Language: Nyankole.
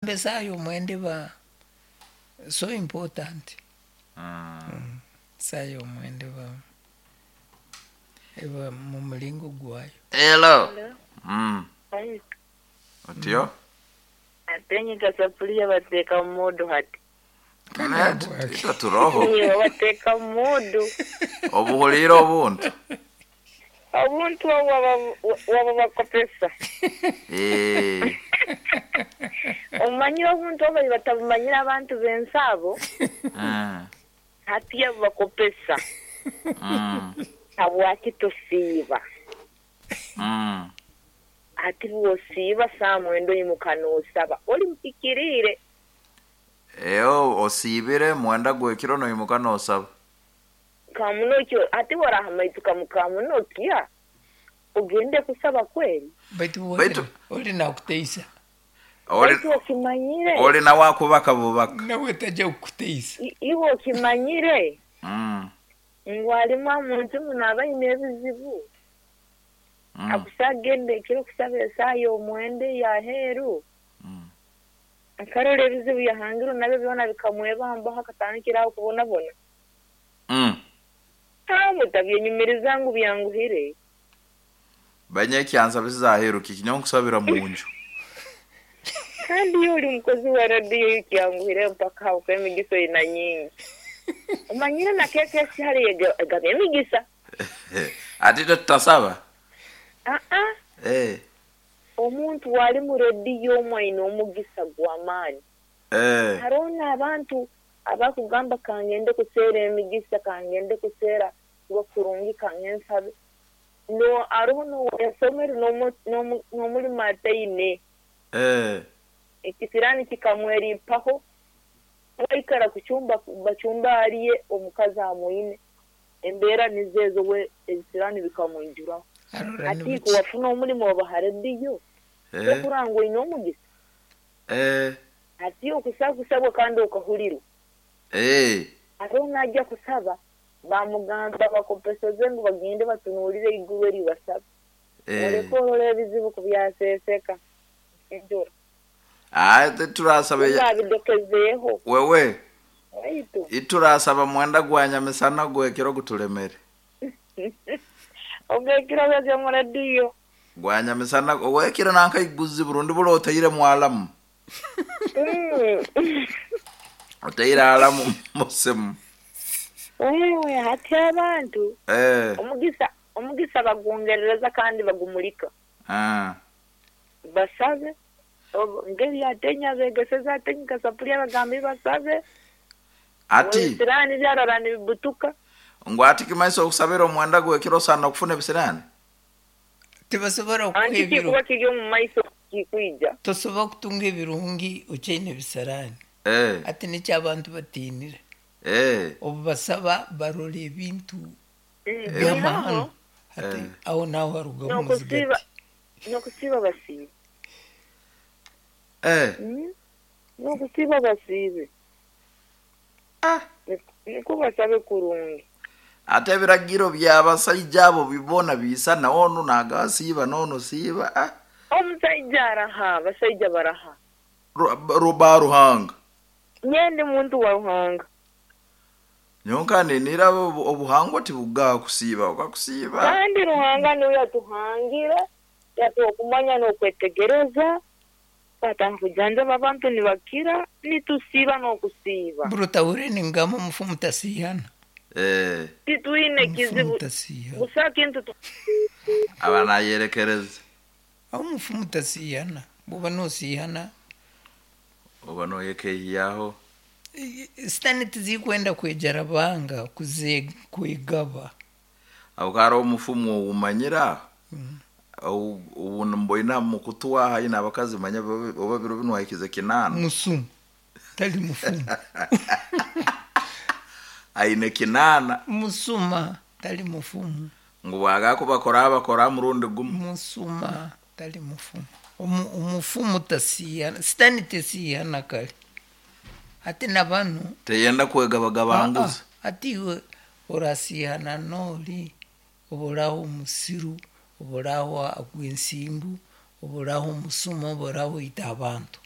Esaaha y'omwenda eba so important. Esaaha y'omwenda eba eba mu muringo gwayo. Hello. Hello. Otyo? Ate nyika safuliya bateeka mu muudu hati. Itwe turoho. Iwe bateeka mu muudu. Obuhuliire obuntu. Obuntu obu wabubakopesa. Eh. Omanyire obuntu obu bali batabumanyire abantu b'ensi abo. Hati yabubakopesa. Habwaki tosiiba? Hati bw'osiiba saaha mwenda oimuka noosaba, oli muhikiriire. Eeh osiibire mwenda gw'ekiro noimuka noosaba. Kamunokyo, hati bw'oraahamaituka mu Kamunokya, ogende kusaba kweri? Baitu Baitu oli nakuteisa. Oli Baitu okimanyire? Oli nawe akubaka bubaka. Nawe taija kukuteisa. Iwe okimanyire ngu alimu omu nsi muno abaine ebizibu? Akusa agenda ekiro kusaba esaaha y'omwenda ey'aheeru, akarora ebizibu yahangirwe nabyo byona bikamwebambaho akatandikira aho kubonabona. Mutabyenyumiriza ngu byanguhire. Banyekyansa bisize aheeru kiki nyowe nkusabira munju. Kandi iwe oli mukozi wa radiyo iwe kyanguhire mpaka habwokuba emigisa oina nyingi. Omanyire na KKC hali egaba emigisa. Ati itwe tutasaba? Aa. Eh. Omuntu wali mu rediyo omu aine omugisa gw'amaani. Eh. Haroho n'abantu abakugamba kangende kuseera emigisa, kangende kuseera kuba kurungi, kangende nsabe. No haroho n'owayasomere n'omulimo ataine. Eh. Ekisiraani kikamwerimpaho, waikara kucumba bacumba alye omukazi amwine. Embeera nizo ezo we ebisiraani bikamwijuraho. Arora Hati nibuki. wafuna omulimo oba ha rediyo, Eh. tokurora ngu oine omugisa? Eh. Hati okusaba kusabwa kandi okahulirwa. Eh. Haroho n'aija kusaba, bamugamba bakopeseze ngu bagende batunuulire eiguru eri basabe. Eh. Oleke orole ebizibu ku byaseseka enjura. Ah, turasaba Babidokezeeho. Wewe. Waitu. Iturasaba mwenda gwa nyamisana gwekiro gutulemere. Ogwekiro gwe mu rediyo. Gwa nyamisana ogwekiro nanka iguzi burundi bula otaire mwalamu. Otaire alamu musimu. Wewe hati abantu Eh. omugisa omugisa bagungerereza kandi bagumulika. Ah. Basabe ngeri atenya begeseza atenya kasapulia bagambe basabe. Ati Ebisiraani byarara nibibutuka. Ngu ati kimaiso okusabira omwenda gwekiro sana okufuna ebisiraani. Tibasobora kukuha Anti ebiro. kikuba kiri omu maiso kikwija. Tosobola kutunga ebirungi okyaine ebisiraani. Eh. Ati nikyo abantu batiinire. Eh. Obu basaba barora ebintu by'amahano. Hati Eh. aho naho harugamu N'okusiiba omuzigati. n'okusiiba basiibe. Eh. N'okusiiba basiibe. Ah. Nikwo basabe kurungi. Ate ebiragiro by'abasaija abo bibona biisana onu nagasiiba n'onu siiba ah. Omusaija araha, abasaija baraha. Ruba Ruhanga. Nyewe ndi muntu wa Ruhanga. Nyonka ninira obuhangwa tibugaa kusiiba okakusiiba. Kandi Ruhanga niwe yatuhangire, yatuha okumanya n'okwetegereza, twatandika kujanjaba abantu nibakira, nitusiiba n'okusiiba. Buri otahure ningamba omufu mutasihana. Eh. Titwine Omufu kizibu. mutasihana. Busa kintu tu Aba nayerekereza. Aho omufu mutasihana. Bwoba nosihana Oba noyekehiyaho. Sitani tizikwenda kwegyera banga kuze kwegaba. Aho hariho omufumu owumanyira ubu mboina mukutu waha aine abakazi manya oba biro binu wahikize 8. Musumu tali mufumu. Aine 8. Musuma tali mufumu. Ngu bwagakubakora bakora murundi gumu. Musuma tali mufumu. Omufumu tasihana, sitani tesihana kare. Hati na banu Teyenda kwegabagabanguza. Hati iwe orasihana n'ori oburaho omusiru, oburaho agwa ensimbu, oburaho omusuma, oburaho oita abantu.